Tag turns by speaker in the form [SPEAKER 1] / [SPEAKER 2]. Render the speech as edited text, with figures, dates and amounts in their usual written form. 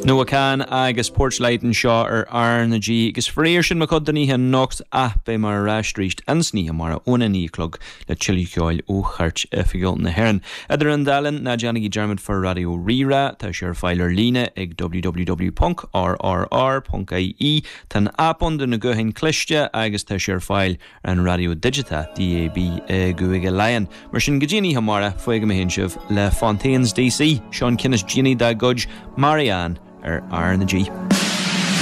[SPEAKER 1] Noah Kahan agus Porchlight anseo ar R na G agus faraor sin mo chuid don oíche anocht ach beidh mé ar ais arís insan oíche amárach óna 9 a chlog le tuilleadh ceoil ó Chairt Oifigiúil na hÉireann. Idir an dá linn, ná déanaigí dearmad fá Raidió Rí-Rá, tá sé ar fáil ar líne ag www.rrr.ie, tá an aip ann do na gutháin cliste agus tá sé ar fáil ar an raidió digiteach, DAB, i gCúige Laighean. Mar sin, go dtí an oíche amárach, fágfaidh mé féin sibh le Fontaines DC, seo an ceann is déanaí dá gcuid, Marianne, ar R na G.